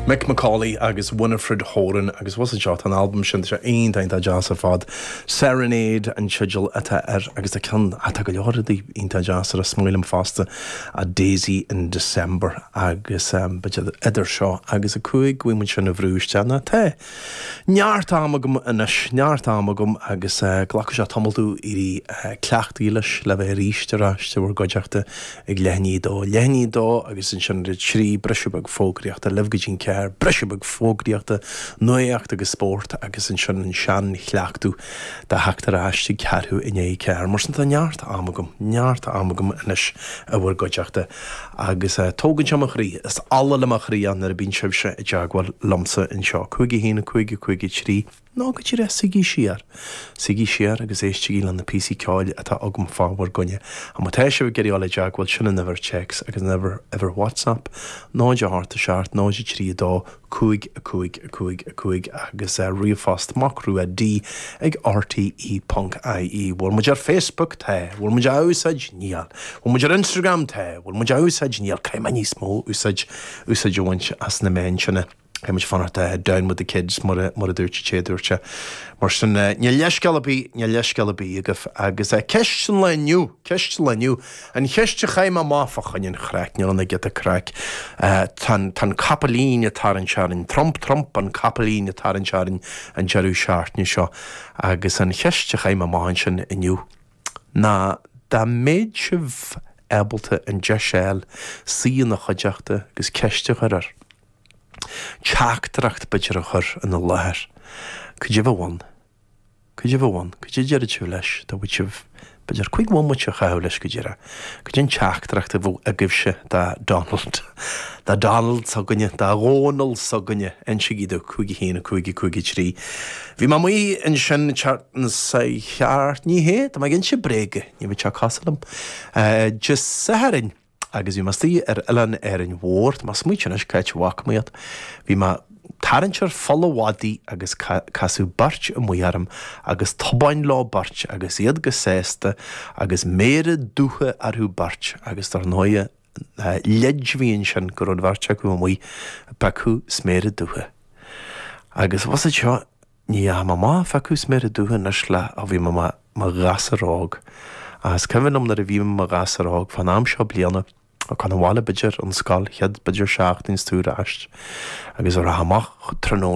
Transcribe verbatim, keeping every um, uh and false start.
Mick McCauley agus Winifred Horan agus was seo an album sin sé iontach deas ar fad. Serenade an teideal atá air agus a ceann atá go leor iontach deas ar a smuoilm fosta a Daisy in December agus um, idir seo agus a cúig bhfuil sin a bhrúiste na te. Neart am agam anois neart am agam agus uh, glacfaidh sé tamall domh éirí uh, cleachtaithe leis le bheith arís ar ais i bhur gcuideachta ag leath i ndiaidh a dó leath i ndiaidh a dó agus ansin trí briseadh beag fógraíochta libh go dtí ceathair briseadh beag fógraíochta nuacht agus spórt agus ansin an seanchleachtadh de theacht ar ais ag ceathrú i ndiaidh a ceathair mar sin tá neart am agam neart am agam anois i bhur gcuideachta agus uh, tógann sé mo chroí is ola le mo chroí nuair a bhíonn sibhse i dteagmháil liomsa anseo cúig a haon cúig cúig trí ná go dtí suígí siar. Suígí siar agus éistigí le na píosaí ceoil atá agam fá bhur gcoinne. A má tá sibh ag iarraidh dul i dteagmháil sin an uimhir text agus an uimhir uimhir WhatsApp, náid a hocht a seacht náid trí dó cúig a cúig a cúig a cúig agus uh, ríomhphost macrua D ag RTE.ie. Bhfuil muid ar Facebook tá, bhfuil muid á úsáid níl. Bhfuil muid ar Instagram tá, bhfuil muid á úsáid níl caithfidh mé níos mó úsáid úsáid a bhaint as na meáin sinne. Muid fanacht down with the kids mar mar a dúirt sé dúirt Mar sin níl leithscéal ar bith níl leithscéal ar bith agaibh agus ceist an lae inniu ceist an lae inniu an cheist a chaith mé amach fá choinne an chraic níl an giota craic Tá capaillín ag tarraingt orainn Trump Trump an capaillín ag tarraingt orainn an deireadh seachtaine seo agus an cheist a chaith mé amach sin inniu ná dá mbeadh sibh ábalta an deis a fháil suí ina chuideachta agus ceist a chur air. Teachtaireacht b'fhéidir a chur ina láthair. Cad é a bheadh ann. Cad é a bheadh ann, cad é déarfadh sibh leis dá bhfuil sibh b'fhéidir cúig bhomaite a chaitheamh leis go díreach. Cad é an teachtaireacht a bheadh agaibhse do Donald. Do Donald s'againne, do Dhónal s'againne insígí domh cúig haon cúig cúig trí. Bhí mé amuigh ansin sa cheart ní hé, Tá mé ag inse bréige, ní bh te calam. Dé Sathairn agus bhí mé istigh ar oileán Árainn Mhór, Tá smaointe anois cá bhfaca mé iad. Bhí mé tarraingt ar pholl an mhadaidh agus casadh beirt amuigh orm agus tobáin leo beirt agus iad go sásta agus méara dubha orthu beirt agus dar ndóigh leid a bhí ansin go raibh an bheirt acu amuigh ag piocadh sméara dubha. Agus was seo ní am má fecu sméire dútha anois le a bhí i mo ghasúr óg. Is cuimhin liom nuair a bhí mé i mo ghasúr óg fan am seo bliana a chun an bhaile b'fhéidir an scoil chéad b'fhéidir seachtain tú ar ais agus ar amach tráthnóna